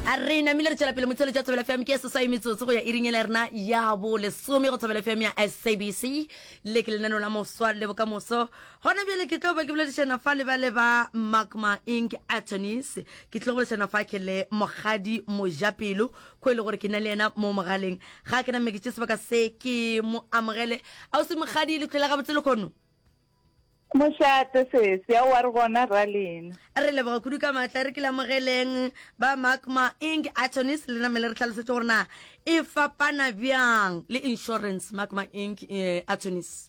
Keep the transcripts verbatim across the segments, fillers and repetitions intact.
A re namile re tšwela pele motheletši wa Thobela F M ke seswai metsotso go ya iring yela ya rena ya bo lesome go Thobela F M ya S A B C. Le ke lenaneo la mofswa le bokamoso. Gona bjale ke tlo ba ke boledišana fa le ba le ba Magma Inc Attorneys. Ke tlo boledišana fa ke le Mokgadi Mojapelo, ko e le gore ke na le yena mo mogaleng. Ga ke name ke tše sebaka se ke mo amogele. Ausi Mokgadi, le tlhole gabotse lehono? Mošate sesi, aowa re gona ra lena. Re leboga kudu ka maatla, re ke le amogeleng ba Magma Inc Attorneys, le name le re hlalosetše gore na e fapana bjang le insurance Magma Inc eh, Attorneys.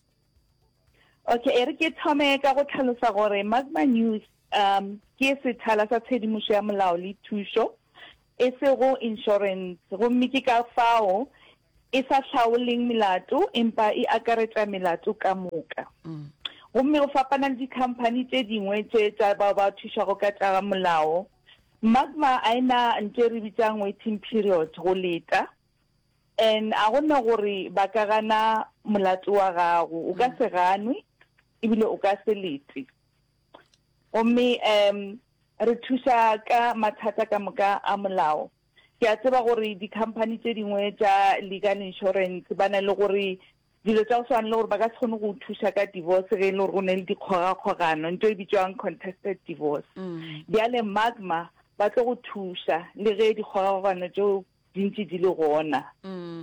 Okay, e re ke thome ka go hlalosa gore Magma News um ke sethala sa tshedimošo ya molao le thušo, e sego insurance, gomme ke ka fao e sa hlaoleng melato empa e akaretša melato ka moka. Gomme go fapana le dikhamphani tše dingwe tše tša bao ba thušago ka tša molao, Magma a e na ntho e re bitsang waiting period, go leta, and a go na gore ba ka gana molato wa gago, o ka se ganwe ebile o ka se lete. Gomme um re thuša ka mathata ka moka a molao. Ke a tseba gore dikhamphani tše dingwe tša legal insurance ba na le gore dilo tša go swana le gore ba ka se kgone go thuša ka divorce ge e le gore go ne le dikgogakgogano, ntho e bitswang contested divorce. Bjale Magma ba tlo go thuša le ge dikgogakgogano tšeo di ntše di le gona.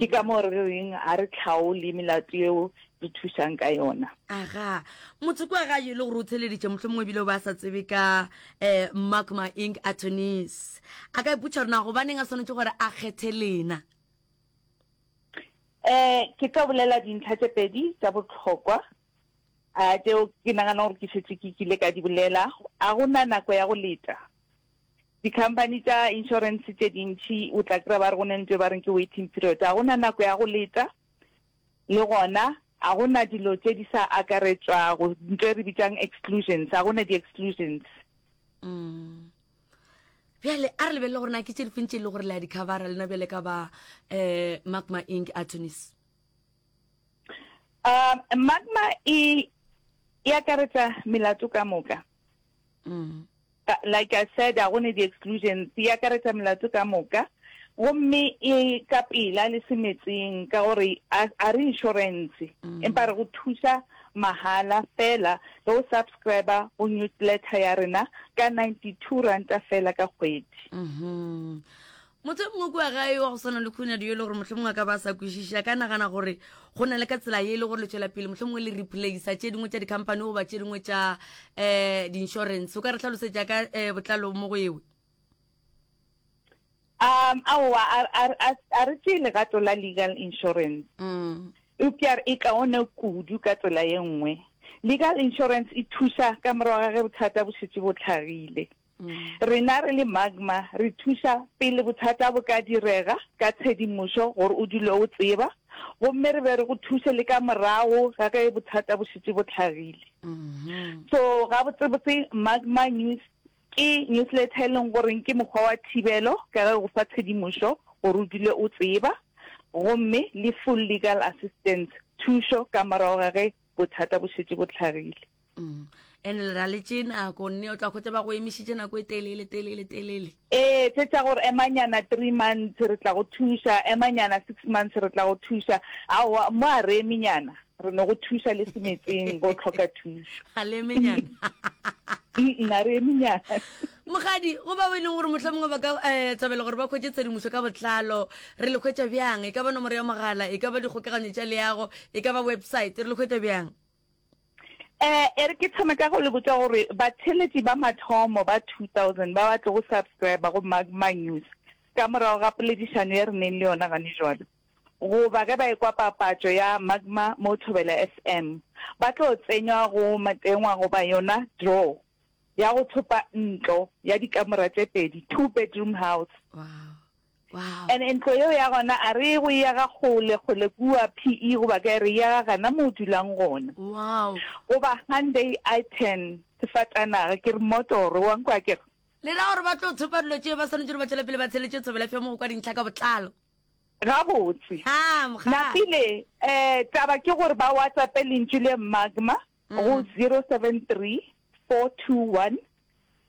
Ke ka moo re reng ga re tlhaole melato yeo re thušang ka yona. Aga, motho kwa gae e le gore o theleditše mohlomongwe ebile o ba sa tsebe ka um Magma Inc Attorneys, a ka ipotša gore na gobaneng a swanetše gore a kgethe lena? Eh, ke tlo bolela dintlha tše pedi tša bohlokwa, a tšeo ke nagana gore ke šetše ke kile ka di bolela. A gona nako ya go leta. Dikhamphani tša insurance tše dintši o tla kry-a ba re go ne ntho e ba reng ke waiting period. A gona nako ya go leta, le gona a gona dilo tše di sa akaretšwago, ntho e re bitsang exclusions, a gona di-exclusions. Mm. Bjale a re lebelele gore na ke tše difeng tše e le gore le a di covera lena bjale ka ba um Magma Inc Attorneys? Um Magma e e akaretša melato ka moka. Mm. Like I said, a gone di-exclusions, e akaretša melato ka moka. Gomme e ka pela le semetseng ka gore a a re insurance, empa re go thuša mahala fela ge o subscriber go newsletter ya rena ka ninety-two ranta fela ka kgwedi. Mhm. Motho e mongwe kua gae wa go swana le Khunadi yo e le gore mohlomongwe a ka ba a sa kwešiše, a ka nagana gore go na le ka tsela ye e le gore le tšwela pele mohlomongwe le replacer tše dingwe tša di-company goba tše dingwe tša um di-insurance. O ka re hlalosetša ka um botlalo mo go ewe? Um aowa, a a a re tšee legato la legal insurance. Mm. Eupša e kaone kudu ka tsela ye nngwe. Legal insurance e thuša ka morago ga ge bothata bo šetše bo hlagile. Rena re le Magma re thuša pele bothata bo ka direga ka tshedimošo gore o dule o tseba, gomme re be re go thuše le ka morago ga ge bothata bo šetše bo hlagile. So gabotsebotse Magma News ke newsletter e leng goreng ke mokgwa wa thibelo ka ge go fa tshedimošo gore o dule o tseba, gomme le full legal assistance, thušo ka morago ga ge bothata bo šetše bo hlagile. Mm. And le ra le tše nako nne o tla hwetša ba go emišitše nako e telele telele telele. Ee, tše tša gore emanyana three months re tla go thuša, emanyana six months re tla go thuša. Aowa, mo a re emenyana, re no go thuša le semetseng go tlhoka thušo. Ga le emenyana. Mm, a re emenyana. Mokgadi, go bao e leng gore mohlomongwe ba ka um thabela gore ba hwetše tshedimošo ka botlalo, re le hwetša bjang? E ka ba nomoro ya mogala, e ka ba dikgokaganyo tša leago, e ka ba website, re le hwetša bjang? Eh, e re ke thome ka go le botša gore batheeletši ba mathomo ba two thousand ba ba tlogo subscriber go Magma News ka morago ga poledišano ye re neng le yona gane jwalo, goba ge ba ekwa papatšo ya Magma mo Thobela F M, ba tlo tsenywa go matengwa goba yona draw ya go thopa ntlo ya dikamora tše pedi, two bedroom house. Wow. Wow. And ntlo yeo ya gona a re go e aga kgole kgole kua P E goba kae, re e aga gana mo o dulang gona. Wow. Goba Hyundai i ten sefatanaga, ke re motoro wa nkwa ke re. Le ra gore ba tlo thopa dilo tšeo ba swanetše gore ba tšwele pele ba tsheletše Thobela F M go kwa dintlha ka botlalo. Gabotse. Ha, mogala. Napile, eh, taba ke gore ba WhatsApp lentšu le Magma go zero seven three four two one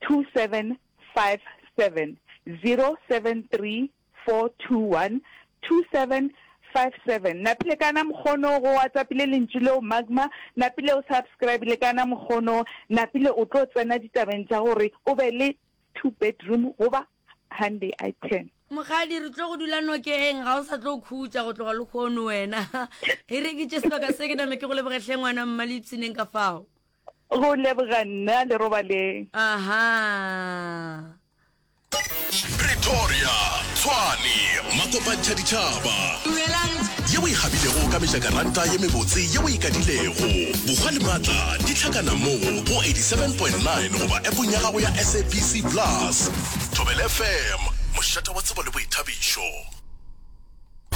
two seven five seven. zero seven three four two one two seven five seven. Napile kana mokgono go WhatsAppile lentšu leo Magma, napile o subscribile kana mokgono, napile o tlo tsena ditabeng tša gore o be le two bedroom goba Hyundai i ten. Mokgadi, re tlo go dula nokeng, ga o sa tlo khutša go tloga lehono wena. E re ke tše sebaka se ke name ke go leboge hle ngwana mma le ipshineng ka fao. Go leboga nna le robaleng. Aha. Pretoria, Tshwane, Makopantšha ditšhaba. Dumelang. Ye o e gabilego ka mejakaranta ye mebotse ye o e kadilego. Bokgwa le maatla di hlakana mo go eighty-seven point nine goba appong ya gago ya S A B C Plus. Thobela F M, mošate wa tsebo le boithabišo.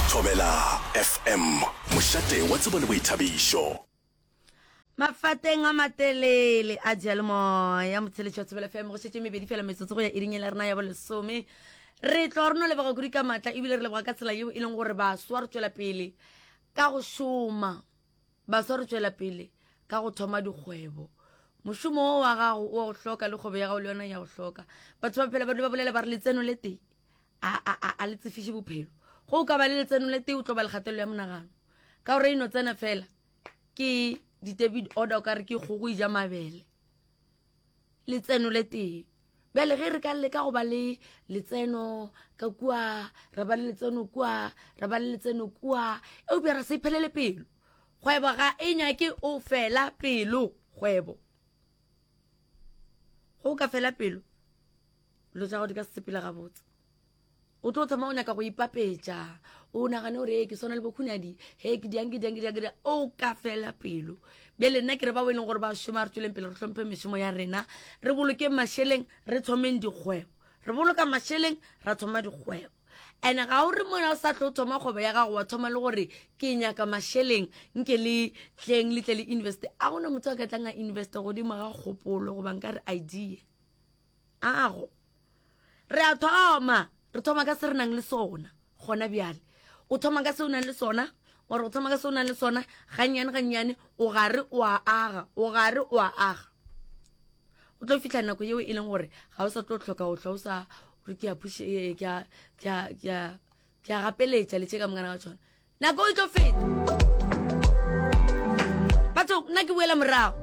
Thobela F M, mošate wa tsebo le boithabišo. Mafateng a matelele a diyalemoya motheletši wa Thobela F M go šetše mebedi fela metsotso go ya iring ya rena ya bolesome. Re tlo re no leboga kudu ka maatla ebile re leboga ka tsela yeo e leng gore baswa re tšwela pele ka go šoma, baswa re tšwela pele ka go thoma dikgwebo. Mošomo wo wa gago o wa go hloka le kgwebo ya gago le yona ya go hloka. Batho ba phela ba dula ba bolela ba re letseno le tee a, a, a, a le tsefiše bophelo. Go o ka ba le letseno le tee o tlo ba le kgatelelo ya monagano ka gore e no tsena fela ke di-debit order o ka re ke kgogo e ja mabele. Letseno le tee. Bjale ge re ka leka go ba le letseno ka kua, ra ba le letseno kua, ra ba le letseno kua, eupša ra se iphelele pelo. Kgwebo ga e nyake o fela pelo, kgwebo. Go ka fela pelo, dilo tša gago di ka se sepele gabotse. O tlo thoma o nyaka go ipapetša, o nagane gore he ke swana le bokhunadi, he ke diang, ke diang, ke diang, ke diang, o ka fela pelo. Bjale nna ke re bao e leng gore ba šoma, re tšweleng pele re hlomphe mešomo ya rena, re bolokeng mašeleng, re thomeng dikgwebo. Re boloka mašeleng, ra thoma dikgwebo. And-e ga o re mona o sa tlo thoma kgwebo ya gago, wa thoma le gore ke nyaka mašeleng, nke le tleng le tle le investe. A gona motho a ka tlang a investe godimo ga kgopolo goba nka re idea. Ago. Re a thoma, re thoma ka se re nang le sona gona bjale. O thoma ka se o nang le sona, or o thoma ka se o nang le sona, gannyane gannyane, o gare o a aga, o gare o a aga. O tlo fihla nako yeo e leng gore ga o sa tlo hloka o hlwa o sa re ke a push, eh, ke a, ke a, ke a, ke a gapeletša le tše ka mokana ga tšona. Nako e tlo feta. Batho, nna ke boela morago.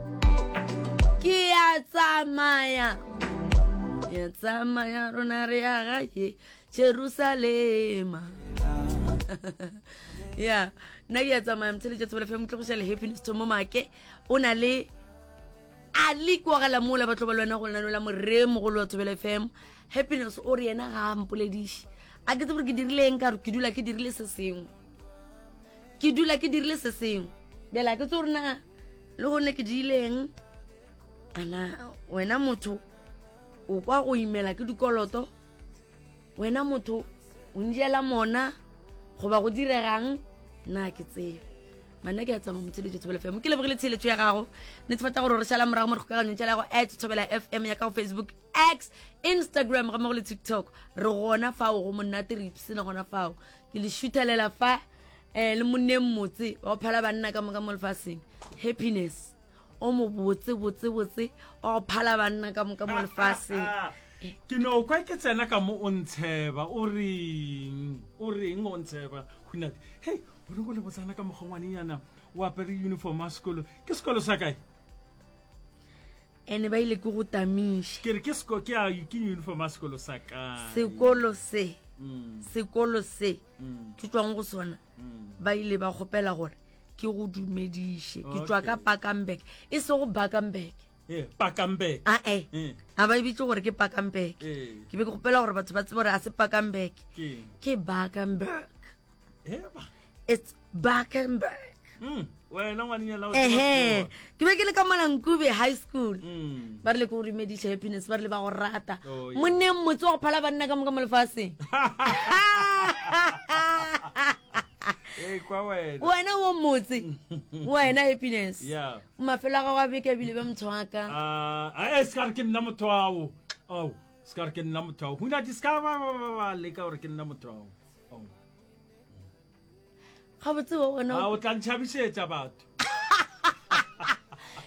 Ke a tsamaya. Ke a tsamaya rona re ya gae Jerusalema. Ya, nna ke a tsamaya motheletši wa Thobela F M, tlogiša le Happiness Thomo Make. O na le a le kwagala mola ba tlo ba le wena go lenaneo la morre mogolo wa Thobela F M. Happiness o re yena ga a mpolediše. A ke tsebe gore ke dirile eng ka gore ke dula ke dirile se sengwe. Ke dula ke dirile se sengwe. Bjale a ke tsebe gore na le gone ke dirile eng. Ana wena motho o kwa go imela ke dikoloto, wena motho o njela mona goba go diregang, nna ke tsebe. Manna ke a tsamaya motheletši wa Thobela F M. Ke lebogile tsheletšo ya gago. Netefatša gore re šala morago mo dikgokaganyong tša gago at Thobela F M ya ka go Facebook, X, Instagram ga mmogo le TikTok. Re gona fao go monate, re ipsena gona fao. Ke le šuthelela fa, eh, le monneng motse wa go phala banna ka moka mo lefaseng. Happiness o mo botse, botse, botse, wa go phala banna ka moka mo lefaseng. Ke no kwa ke tsena ka mo o ntsheba, o reng? O reng o ntsheba? Hunadi, hei, o re go le botsana ka mokgwa ngwanenyana o apere uniform ya sekolo. Ke sekolo sa kae? Ene ba ile ke go tamiša. Ke re ke seko, ke a, ke uniform ya sekolo sa kae? Sekolo se, Mm. sekolo se, Mm. ke tšwang go sona, Mm. ba ile ba kgopela gore ke go dumediše. Ke tšwa ka Okay. Bakenberg, e sego Bakenberg. Eh, Bakenberg. Ah, eh. Eh. Ga ba e bitse gore ke Bakenberg. Eh. Ke be ke kgopela gore batho ba tsebe gore a se Bakenberg. Ke. Ke Bakenberg. Eh, ba. It's Bakenberg. Mm. Wena ngwanenyana o tseba Ehe. sekgowa. Ke be ke le ka Malankube High School. Mm. Ba rile ke go dumediša Happiness, ba rile ba go rata. Oh, yeah. Monneng motse wa go phala banna ka moka mo lefaseng. Ee, kwa wena. Wena o motse. Wena Happiness. Yeah. Mafelo a gago a beke ebile be motho wa ka. Ah, eh, se ka re ke nna motho ao. Ao, se ka re ke nna motho ao. Hunadi, se ka ba, ba, ba, ba leka gore ke nna motho ao. Ao. Gabotse wa wena Ah, o tla ntšhabišetša batho.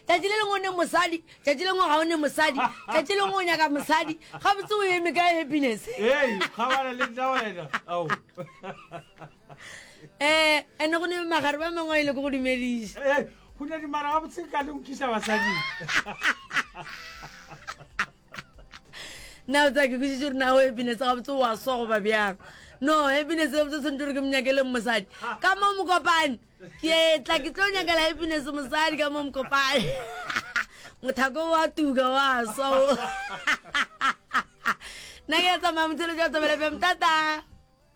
E Tšatši le lengwe o ne mosadi, tšatši le lengwe ga o ne mosadi, tšatši le lengwe o nyaka mosadi. Gabotse o eme kae Happiness? Ei, kgabana le nna wena. Ao. Eh, ene go ne magare ba mangwe a ile ko go dumediša. Ei, go ne di mara gabotse ka le nkisa basading. Na o tsaya ke kwešiše gore na o Happiness gabotse o a swa goba bjang. No, Happiness gabotse o tshwanetse gore ke mo nyakeleng mosadi. Ka mo Mokopane, ke tla ke tlo nyakela Happiness mosadi ka mo Mokopane. Mothako wa tuka wa swa o. Nna ke a tsamaya motheletši wa Thobela F M. Tata.